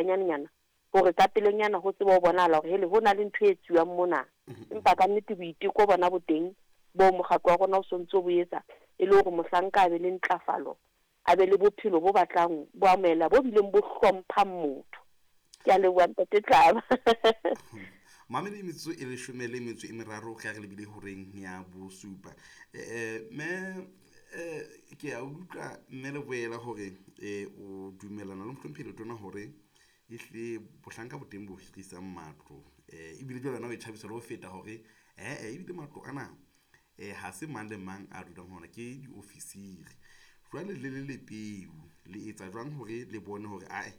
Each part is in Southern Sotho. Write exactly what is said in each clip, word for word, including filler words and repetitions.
haholwanyanenyana hore ka pelenyana ho tsebe ho bonahala hore hele ho na le ntho e etsuwang mona. Empa ka nnete boiteko bona bo teng bo mokgatlo wa rona o sontso bo etsa e le hore mohlanka a be le ntlafalo, a be le bophelo bo batlang bo amohela bo bileng bo hlomphang motho. Ke a leboha ntate Tlaba. Mamedi metsotso e leshome le metso e meraro ge re lebile horeng ya bosupa. Eh me eh ke a utlwa mme le boela hore eh o dumellana le mohlomphehi Letona hore ehlile bohlanka bo teng bo hirisang matlo, eh ebile jwale wena o e tjhabisa le ho feta hore eh ebile matlo ana eh ha se mang le mang a dulang ho ona, ke diofisiri. Jwale le le lepeu le etsa jwang hore le bone hore ae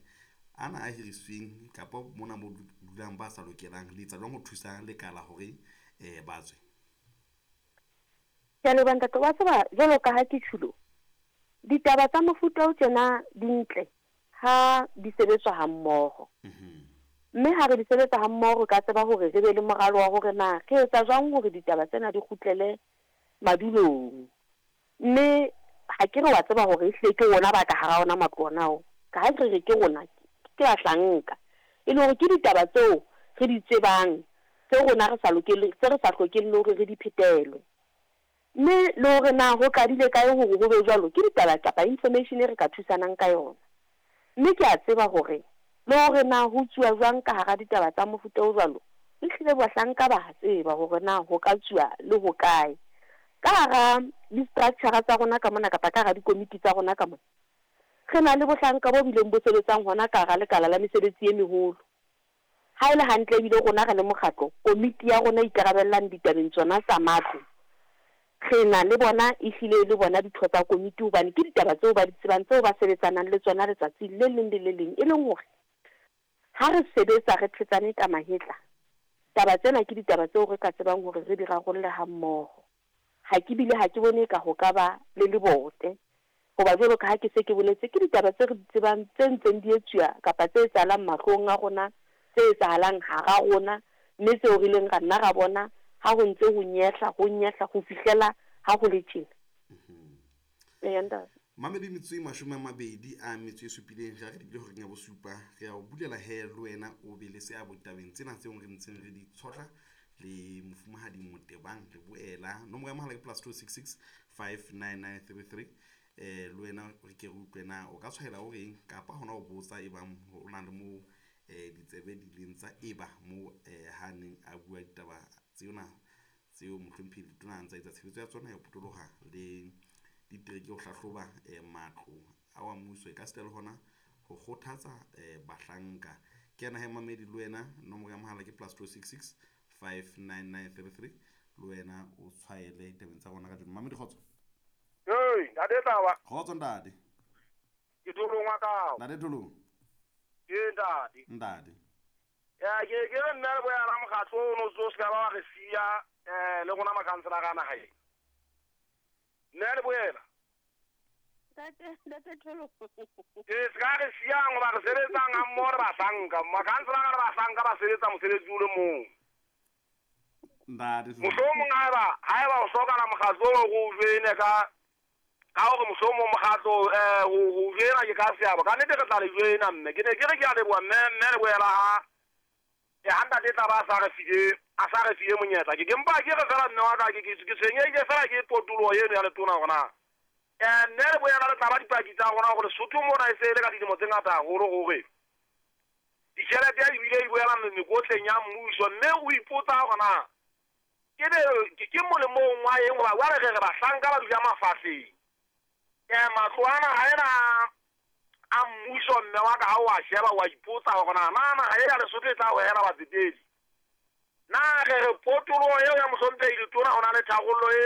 ana a hirisweng kapa mona mo dulang ba sa lokelang, le etsa jwang ho thusa lekala hore eh ba tswe? Ke a leboha ntate. Wa tseba jwalo ka ha ke tjhulo, ditaba tsa mofuta o tjena di ntle ha di sebetswa ha mmoho. Mme ha re di sebetsa ha mmoho re ka tseba hore re be le moralo wa hore na re etsa jwang hore ditaba tsena di kgutlele madulong. Mme ha ke re wa tseba hore ehlile ke rona ba ka hara ona matlo ona ao, ka ha re re ke rona ke bahlanka, e le hore ke ditaba tseo re di tsebang tseo rona re sa lokele, tse re sa hlokeng le hore re di phetelwe. Mme le hore na ho qadile kae hore ho be jwalo, ke ditaba kapa information e re ka thusanang ka yona. Mme ke a tseba hore le hore na ho tsuwa jwang ka hara ditaba tsa mofuta o jwalo, ehlile bahlanka ba tseba hore na ho ka tsuwa le ho kae. Ka hara di-structure tsa rona ka mona kapa ka hara dikomiti tsa rona ka mona, re na le bohlanka bo bileng bo sebetsang hona ka hara lekala la mesebetsi e meholo. Ha e le hantle ebile rona re le mokgatlo, komiti ya rona e ikarabellang ditabeng tsona tsa matlo, re na le bona ehlile le bona ditho tsa komiti, hobane ke ditaba tseo ba di tsebang tseo ba sebetsanang le tsona letsatsi le leng le le leng. E leng hore ha re sebetsa re thetsane ka mahetla, taba tsena ke ditaba tseo re ka tsebang hore re di rarolle ha mmoho. Ha ke bile ha ke bone ka ho ka ba le lebote, hoba jwalo ka ha ke se ke boletse, ke ditaba tse re di tsebang tse ntseng di etsuwa kapa tse etsahalang mahlong a rona, tse etsahalang hara rona, mme tseo re ileng ra nna ra bona ha ho ntse ho nyehla, ho nyehla ho fihlela ha ho le tjena. Eya ntate. Mamedi metsotso e mashome a mabedi a metso e supileng re re lebile horeng ya bosupa. Re a o bulela he le wena o be le seabo ditabeng tsena tseo re ntseng re di tshotla le mofumahadi Motebang le boela. Nomoro ya mohala ke plus two six six five nine nine three three. Eh le wena re ke re utlwe na o ka tshwaela o reng kapa hona o botsa e bang ho na le moo eh ditsebe di leng tsa eba moo eh ha neng a bua ditaba tsena tseo mohlomphehi Letona a ntsa etsa tshebetso ya tsona ya ho potoloha le ditereke ho hlahloba eh matlo a wa mmuso, e ka sita le hona ho kgothatsa eh bahlanka. Ke yena he mamedi le wena, nomoro ya mohala ke plus two six six five nine nine three three. Le wena o tshwaele ditabeng tsa rona kajeno. Mamedi kgotso. Hey, ntate Tlaba. Kgotso ntate. Ke Tholong wa kao. Ntate Tholong. Ke ntate. Ntate. Ya ke ke re nna le boya la mokgatlo o no tso se ka ba wa re siya eh le rona makhanselara a naha ena. Nna le boela. Ntate, ntate Tholong. Ke se ka re siyang hoba re sebetsang ha mmoho re bahlanka. Makhanselara le bahlanka ba sebetsa mosebetsi o le mong. Ntate. Mohlomong haeba haeba o hlokahala mokgatlo o re o join-e ka ka hore mohlomong mokgatlo eh ho ho join-a ke ka seabo. Ka nnete re tla le join-a mme. Ke ne ke re ke a leboha mme mme le boela ha e ha ntate Tlaba a sa re file a sa re file monyetla. Ke ke mpa ke re fela mme wa ka ke ke ke tshwenyehile fela ke potoloho eno ya Letona hore na eh mme le boela le tla ba dipaki tsa rona hore Lesotho mona e se e le ka dilemo tse ngata haholo hore ditjhelete ya ebile e boela mekotleng ya mmuso, mme o ipotsa hore na ke be ke molemong wa eng hoba jwale re re bahlanka ba dula mafahleng. Eh matlo ana ha ena a mmuso mme wa ka ha o a sheba wa ipotsa hore na na naha e ya Lesotho e tla hohela batsetedi. Na re re potoloho eo ya mohlomphehi Letona ho na le tharollo e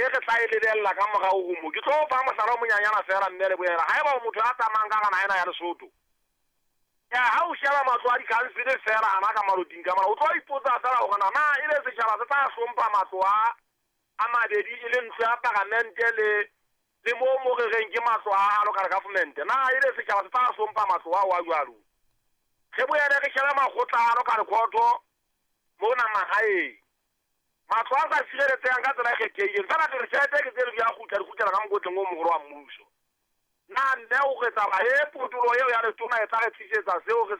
e re tla e lebella ka morao ho mo. Ke tlo fa mohlala o monyanyana fela mme le boela. Haeba o motho a tsamayang ka hara naha ena ya Lesotho, ya ha o sheba matlo a di-council fela ana ka maloting ka mona, o tlo ipotsa fela hore na na ebe setjhaba se tla hlompha matlo a a mabedi e le ntlo ya paramente le le mo mo re reng ke matlo a local government. Na ebe setjhaba se tla hlompha matlo ao a jwalo? Re boele re shebe makgotla a local court mona mahaeng. Matlo a sa sireletsehang ka tsela e kgethehileng. Fela re re tjhelete ke tse di a kgutla di kgutlela ka mokotleng o moholo wa mmuso. Na mme o re taba e potoloho eo ya Letona e tla re tlisetsa seo re